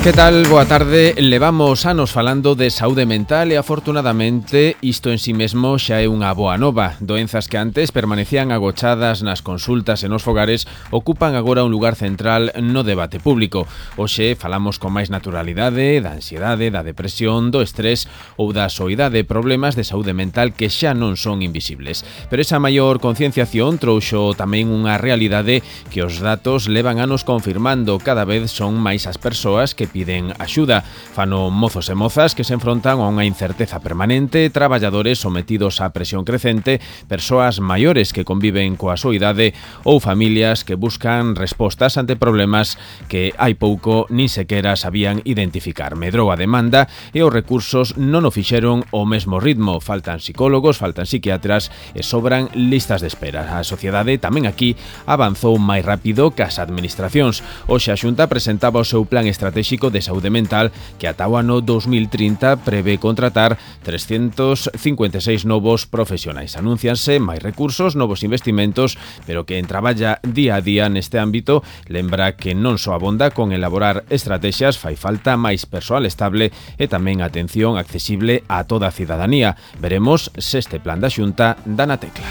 Que tal? Boa tarde. Levamos anos falando de saúde mental e afortunadamente isto en si mesmo xa é unha boa nova. Doenzas que antes permanecían agochadas nas consultas e nos fogares ocupan agora un lugar central no debate público. Hoxe falamos con máis naturalidade da ansiedade, da depresión, do estrés ou da soidade, problemas de saúde mental que xa non son invisibles. Pero esa maior concienciación trouxo tamén unha realidade que os datos levan anos confirmando. Cada vez son máis as persoas que piden axuda. Fano mozos e mozas que se enfrontan a unha incerteza permanente, traballadores sometidos á presión crecente, persoas maiores que conviven coa soidade ou familias que buscan respostas ante problemas que hai pouco nin sequera sabían identificar. Medrou a demanda e os recursos non o fixeron ao mesmo ritmo. Faltan psicólogos, faltan psiquiatras e sobran listas de espera. A sociedade tamén aquí avanzou máis rápido que as administracións. Hoxe a Xunta presentaba o seu plan estratégico de saúde mental que ata o ano 2030 prevé contratar 356 novos profesionais. Anúncianse máis recursos, novos investimentos, pero que en traballa día a día neste ámbito lembra que non só abonda con elaborar estrategias, fai falta máis persoal estable e tamén atención accesible a toda a cidadanía. Veremos se este plan da Xunta dá na tecla.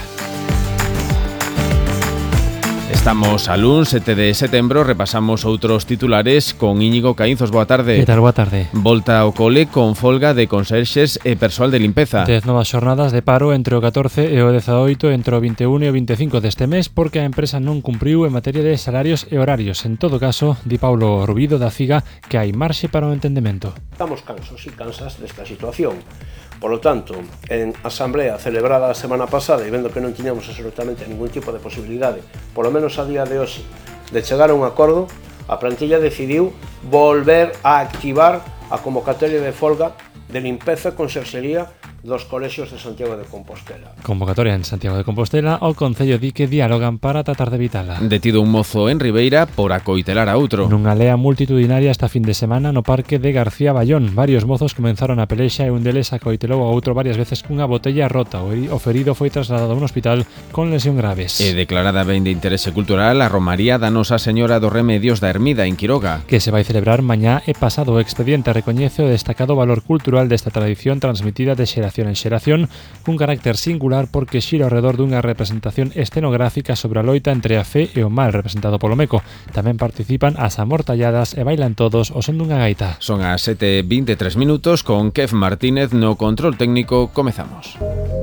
Estamos a luns 7 de setembro, repasamos outros titulares con Íñigo Caínzos. Boa tarde. Que tal? Boa tarde. Volta ao cole con folga de conserxes e persoal de limpeza. 10 novas xornadas de paro entre o 14 e o 18 entre o 21 e o 25 deste mes porque a empresa non cumpriu en materia de salarios e horarios. En todo caso, di Paulo Rubido da CIGA que hai marxe para o entendemento. Estamos cansos e cansas desta situación. Por lo tanto, en asamblea celebrada a semana pasada e vendo que non tiñamos absolutamente ningún tipo de posibilidade, polo menos a día de hoxe, de chegar a un acordo, a plantilla decidiu volver a activar a convocatoria de folga de limpeza e conserxería dos colexios de Santiago de Compostela. Convocatoria en Santiago de Compostela, o Concello di que dialogan para tratar de evitala. Detido un mozo en Ribeira por acoitelar a outro. Nunha lea multitudinaria esta fin de semana no parque de García Bayón, varios mozos comenzaron a pelexa e un deles acoitelou a outro varias veces cunha botella rota. O ferido foi trasladado a un hospital con lesión graves. E declarada ben de interese cultural a Romaría da Nosa Señora dos Remedios da Ermida en Quiroga, que se vai celebrar mañá e pasado. O expediente recoñece o destacado valor cultural desta tradición transmitida de xeración en xeración, cun carácter singular porque xira ao redor dunha representación escenográfica sobre a loita entre a fe e o mal representado polo meco. Tamén participan as amortalladas e bailan todos o son dunha gaita. Son as 7:23 con Kev Martínez no control técnico. Comezamos.